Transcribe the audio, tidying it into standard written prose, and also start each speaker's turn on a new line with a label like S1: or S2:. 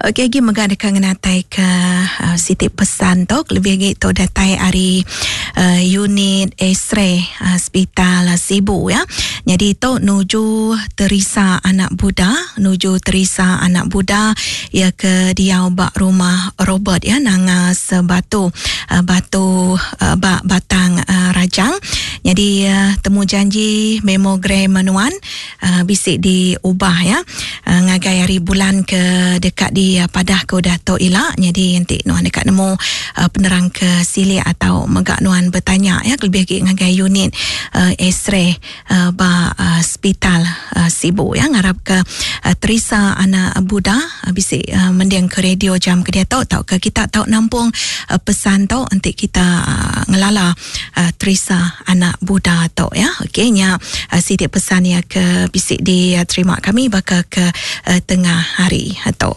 S1: Okey agi mega deka ngenatai ke uh, siti pesan tu lebih agi tu datai ari uh, unit X-ray uh, Hospital Sibu ya. Jadi tu nuju Teresa anak Buda, nuju Teresa anak Buda ya ke diau ba rumah Robert ya nanga sebatu uh, batu uh, ba Batang uh, Rajang. Jadi uh, temu janji mammogram nuan uh, bisi diubah ya uh, ngagai hari bulan ke deka di uh, padah ke udah tu ila. Jadi enti nuan deka nemu uh, penerang ke silik atau mega nuan bertanya ya lebih lagi ngagai unit uh, X-ray uh, ba uh, hospital uh, Sibu ya. Ngarap ke uh, Teresa anak Buda uh, bisi uh, mending ke radio jam ke diatu tau ke kita tau nampung uh, pesan tu enti kita uh, ngelala uh, Teresa anak Buddha tu ya. Okey nya uh, siti pesan ya ke bisi diterima kami baka ke uh, tengah hari tu.